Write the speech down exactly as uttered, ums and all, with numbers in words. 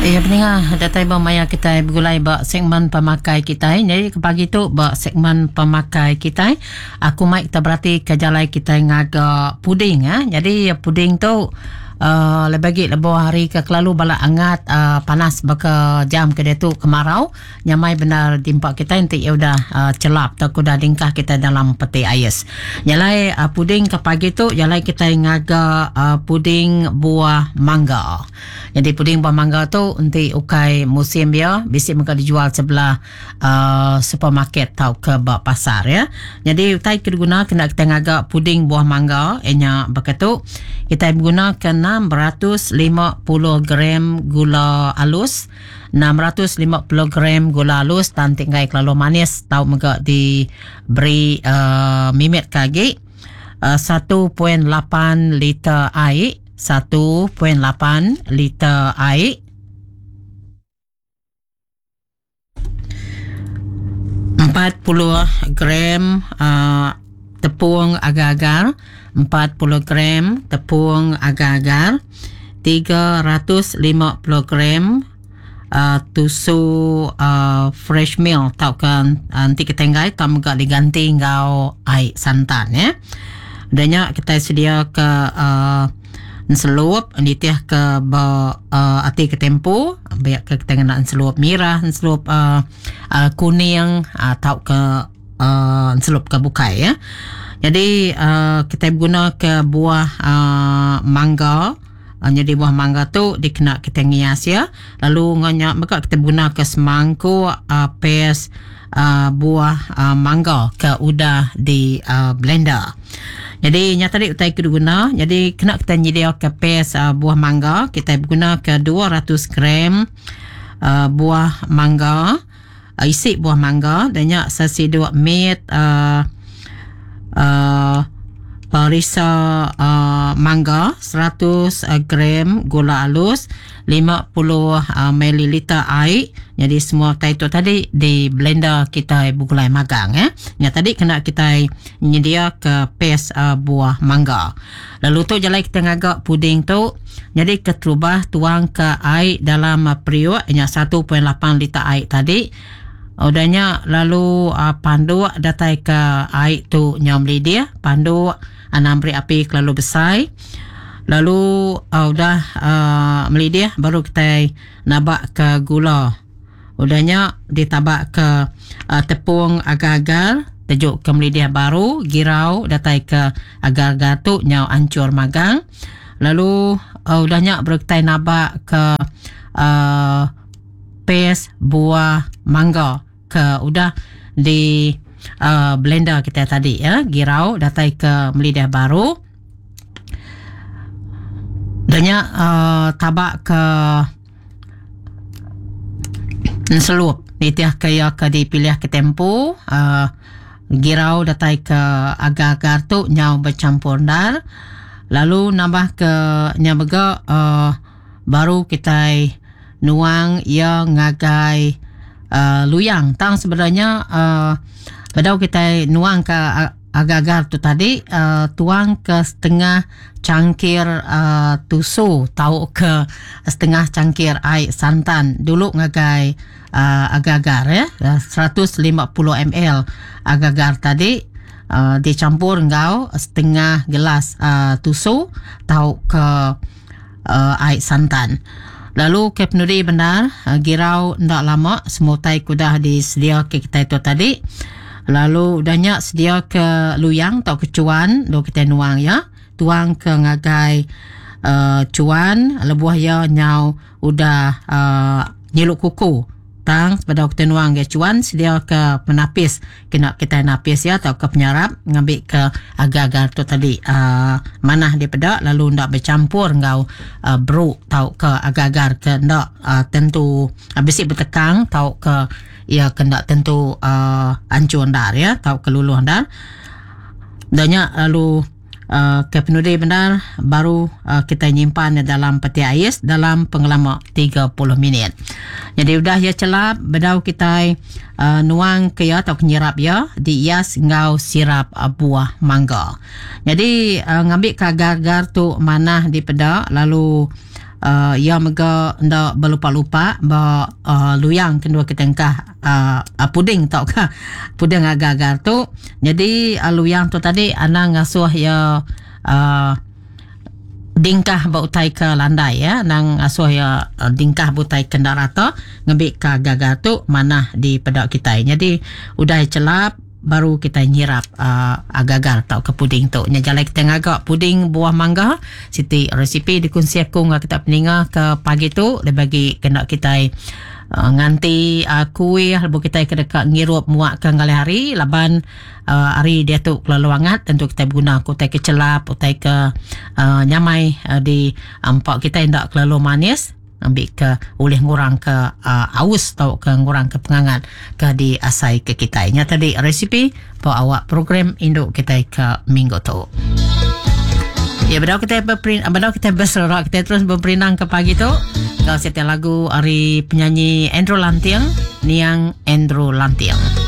Ya peninga datai ba maya kita begulai ba segmen pemakai kita. Jadi ke pagi tu ba segmen pemakai kita, aku mai kita berarti ke jalai kita ngaga puding ah. Jadi puding tu uh, lebih lagi lebuh hari ke kelalu bala angat uh, panas baka jam ke dia tu kemarau, nyamai benar dimpak kita nanti ya udah uh, celap atau udah dingkah kita dalam peti ais. Jalai uh, puding ke pagi tu jalai kita ngaga uh, puding buah mangga. Jadi puding buah mangga tu nanti ukai musim dia bisi mega dijual sebelah uh, supermarket atau ke bak pasar ya. Jadi utai ke diguna kena kita ngaga puding buah mangga enya beketu kita guna ke enam ratus lima puluh gram gula halus, enam ratus lima puluh gram gula halus tan tinggai kelalu manis tau mega diberi uh, mimit kagi uh, satu perpuluhan lapan liter air, satu perpuluhan lapan liter air, empat puluh gram uh, tepung agar-agar, empat puluh gram tepung agar-agar, tiga ratus lima puluh gram uh, tusu uh, fresh milk tau kan uh, nanti kita enggai tau mega diganti ngau air santan ya. Danya kita sedia ke uh, nselup nitih ke ba uh, ati ke tempo biar ke kita ngena nselup merah, nselup uh, uh, kuning atau uh, ke uh, nselup ke bukai ya. Jadi uh, kita guna ke buah uh, mangga. Uh, jadi buah mangga tu dikena kita ngias ya. Lalu nganyak maka kita guna ke semangkuk uh, pes uh, buah uh, mangga ke udah di uh, blender. Jadi nyata tadi utai ke guna. Jadi kena kita nyedia ke pes uh, buah mangga, kita guna ke dua ratus gram uh, buah mangga, uh, isi buah mangga dan nyak sesiduk mit uh, uh, perisa uh, mangga, seratus gram gula halus, lima puluh uh, mililiter air. Jadi semua tai tu tadi di blender kita bugulai magang ya. Yang tadi kena kita nyedia ke pes uh, buah mangga. Lalu tu jalai kita ngagak puding tu. Jadi keterubah tuang ke air dalam uh, periuk nya satu perpuluhan lapan liter air tadi. Udahnya lalu uh, panduk datai ke air tu nyam dia panduk anam beri api kelalu besar. Lalu uh, udah uh, melidih baru kita nabak ke gula. Udahnya ditabak ke uh, tepung agar-agar, tejuk ke melidih baru, girau datai ke agar-agar tu nyau ancur magang. Lalu uh, udahnya baru kita nabak ke uh, pes buah mangga ke udah di uh, blender kita tadi ya, girau datai ke melidah baru. Danya uh, tabak ke nselup nitih ke ya ke dipilih ke tempo uh, girau datai ke agar-agar tu nyau bercampur dar. Lalu nambah ke nya mega uh, baru kita nuang ia ngagai uh, luyang. Tang sebenarnya uh, bedau kita nuang ke agar-agar tu tadi uh, tuang ke setengah cangkir uh, tusu tau ke setengah cangkir air santan dulu ngagai uh, agar-agar ya, seratus lima puluh mililiter agar-agar tadi uh, dicampur ngau setengah gelas uh, tusu tau ke uh, air santan. Lalu ke penudi benar uh, girau ndak lama semua tai kudah disedia ke kita itu tadi. Lalu udahnya sedia ke luyang atau ke cuan do kita nuang ya. Tuang ke ngagai uh, cuan lebuh ya nyau udah uh, nyeluk kuku. Tang pada kita nuang ke cuan sedia ke penapis kena kita napis ya atau ke penyarap ngambil ke agar-agar tu tadi uh, manah dia pedak lalu ndak bercampur ngau uh, beruk tau ke agar-agar ke ndak uh, tentu uh, besi bertekang tau ke ya kena tentu uh, ancur ndar ya tau ke luluh ndar. Danya lalu uh, ke penudi benar baru uh, kita nyimpan dalam peti ais dalam pengelama tiga puluh minit. Jadi udah ya celap bedau kita uh, nuang ke ya atau nyirap ya diias ngau sirap uh, buah mangga. Jadi uh, ngambil ke agar-agar tu manah di pedak lalu uh, ia mega enda belupa-lupa ba uh, luyang kedua kita engkah uh, uh, puding tau ka puding agar-agar tu. Jadi uh, luyang tu tadi anang ngasuh ia uh, dingkah ba utai ke landai ya, nang asuh ya dingkah butai kenda rata ngambil ke gagal tu manah di pedak kita. Jadi udah celap baru kita nyirap uh, agar-agar tau ke puding tu. Nya jalai kita ngagak puding buah mangga. Siti resipi dikongsi aku ngah kita peninga ke pagi tu lebih bagi kena kita uh, nganti uh, kuih lebu kita ke dekat ngirup muak ke ngalih hari laban uh, hari dia tu kelalu hangat, tentu kita guna utai ke celap, utai ke uh, nyamai uh, di empak kita ndak kelalu manis, ambil ke oleh ngurang ke uh, aus atau ke ngurang ke pengangat ke di asai ke kita. Nya tadi resipi po awak program induk kita ke minggu tu. Ya, bedau kita berperin, bedau kita berserak, kita terus berperinang ke pagi tu. Kau setiap lagu hari penyanyi Andrew Lantiang, Niang Andrew Lantiang.